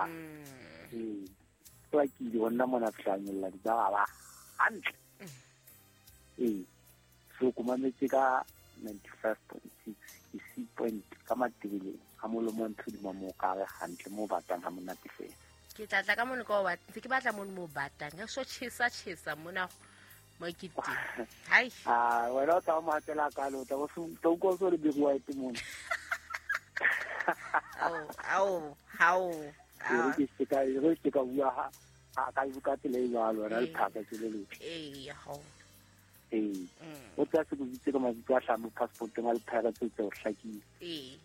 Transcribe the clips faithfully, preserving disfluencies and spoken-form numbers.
Ee hlwakile ho nna mona fihlanyolla ditaba hantle. Ee so ko mametse ka ninety-five point six ke C point ka Matebeleng ha molomo ntho di mo ka re hantle mo batang ha monate fela. Ke tla tla ka mono ka o batla ntse ke batla mono mo batang ke so chesa chesa mona mo ke teng. Hai ah wena o tla mo hatela ka lo tla o tla utlwa so le big white mono. Ao ao hao ke se ka re ke ka bua ha ka ka tsela e jwalo wena le phaka ke le le. Ee ho ee o tla se go bitse ka mabitso a hlano passport nga le phaka tse tse o hlakile. Ee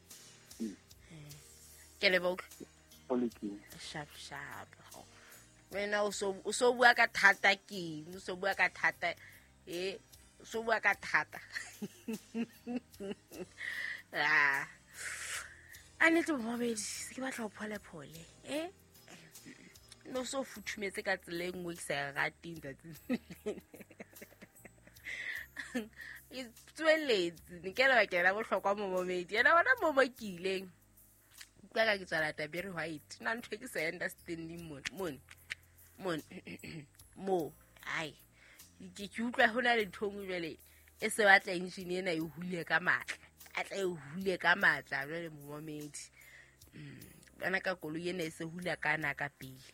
ke le bo o sharp sharp wena o so o so bua ka thata ke o so bua ka thata e o so bua ka thata. Ah a nete momedi se ke batla ho phole phole eh no so futhumetse ka tsela e nngwe ke sa e rateng tsatsi e tsweletse ne ke lebaka la bohlokwa momedi yena bona mo mo ke ileng ka ka ke tswala Taberi White na ntho e ke sa understanding mon mon mon mo ai ke ke utlwa hona le ntho nngwe jwale e se batla engine ena e hule ka matla a tla e hule ka matla jwale momedi bana ka koloi ena e se hula ka na ka pele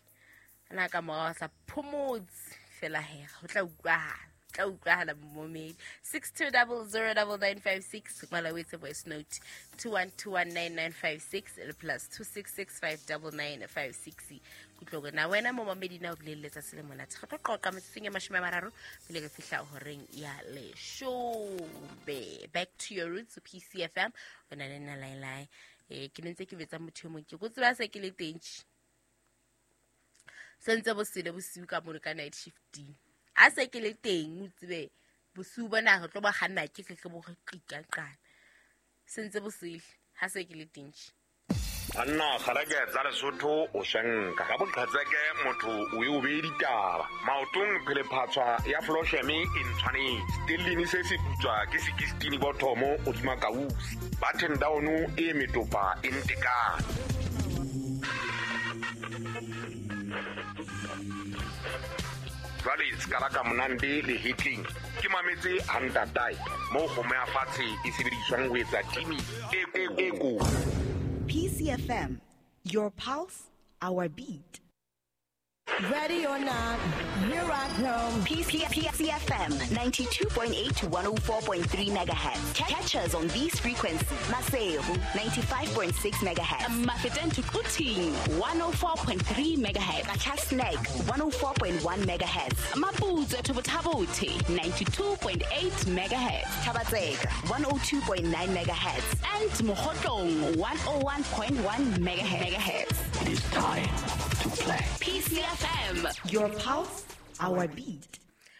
ana ka morao sa phomotse fela he ho tla utlwahala tla utlwahala momedi six two zero zero nine nine five six ngwala o etse voice note two one two one nine nine five six le plus two six six five nine nine five six. Kutlwe na wena mo momedi na o bolelle letsatsi le monate re tlo qoqa metsotsong e mashome a mararo pele re fihla horeng ya leshome. Back to your roots P C F M o na le nna Lailai. Eh ke ntse ke betsa motho e mong ke go tseba se ke le teng sentse bo sele bosiu ka mono ka night shifting a se ke le teng o tsebe bosiu bona re tlo ba kganna ke ke bo re qika qana sentse bo sele ha se ke le teng. Anna kgareke tsa Lesotho o shanka ka boqhetseke motho o e o be ditaba maotong phele phatswa ya flosheme e ntshwanetse stellini se se putswa ke sixteen bothomo o tsuma kausi button down e metopa e ntekane. Jwale skala ka monande le hitling ke mametse hantatai mo kgomo ya fatshe e sebediswang ho etsa timi e e ko. P C F M, your pulse, our beat. Ready or not, here I come. P C F M ninety-two point eight to one oh four point three megahertz. Catch us on these frequencies. Maseru ninety-five point six megahertz. Mafeteng to Quthing one oh four point three megahertz. Qacha's one oh four point one megahertz. Maputsoe to Botha-Bothe ninety-two point eight megahertz. Thaba-Tseka one oh two point nine megahertz. And Mokhotlong one oh one point one megahertz. It is time to play. P C F M, your pulse, our beat.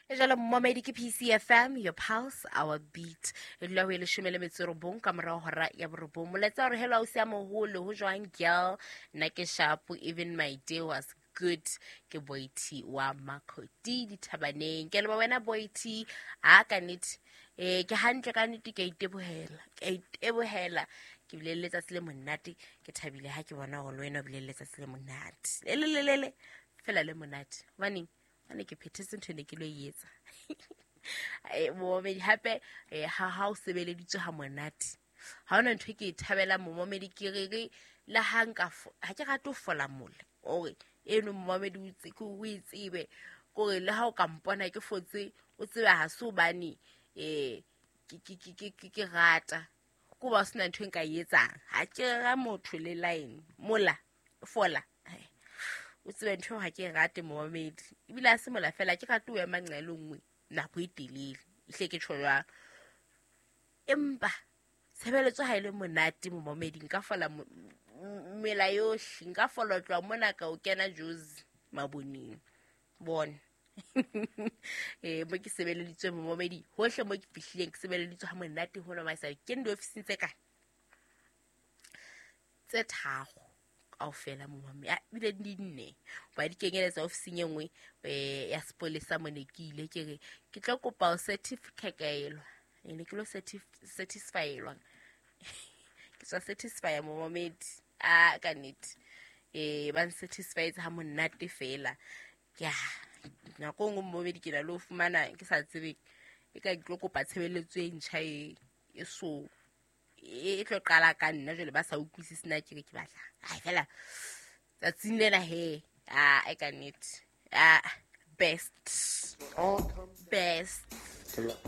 Jalo momedi ke P C F M, your pulse, our beat. E dula ho e leshome le metso e robong ka morao hora ya borobong. Molaetsa hore hello o sia moholo ho jwang girl nna ke sharp even my day was good ke Boity wa Makoti dithabaneng. Ke leboha wena Boity a ka nnete eh ke hantle ka nnete ke itebohela ke itebohela ke bile le letsatsi le monate ke thabile ha ke bona hore wena o bile le letsatsi le monate le le le le fela le monate hobane hobane ke phethetse ntho ne ke lo etsa. Eh momedi hape ha ha o sebeleditswe ha monate ha ona ntho ke e thabela momedi ke re re le ha nka ha ke rate ho fola mola ore eno momedi o itse ke o itsebe kore le ha o ka mpona ke fotse o tsebe ha se hobane eh ke ke ke ke ke rata ko ba sena ntho nka e etsang ha ke ra motho le line mola fola o tsebe ntho ha ke rate momedi ebile a se mola fela ke rate o ema nqelo nngwe nako e telele hle ke tjho jwalo empa tshebeletso ha ile monate momedi nka fola mela yohle nka fola tloha mona ka o kena Jozi maboneng bona. Eh mo ke sebeleditswe momedi hohle mo ke fihlileng ke sebeleditswe ha monate hona maisa ke ndi ofising tse kae tse tharo kaofela momedi a bile di nne ba di kenyeletsa ofising e nngwe ya sepolesa mone ke ile ke re ke tlo kopa o certificate ene ke lo satisfyelwa ke tswa satisfy momedi a ka nnete Eh ba nsatisfied ha monate fela. Ya nako nngwe momedi ke na le ho fumana ke sa tsebe e ka ke tlo kopa tshebeletso e ntjha e e so e tlo qala ka nna jwale ba sa utlwisise na ke re ke batla. Ai fela tsatsing lena he ah e ka nnete. Ah best. Best.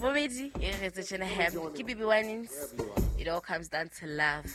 Momedi e re tse tjena he ke B B Winans. It all comes down to love.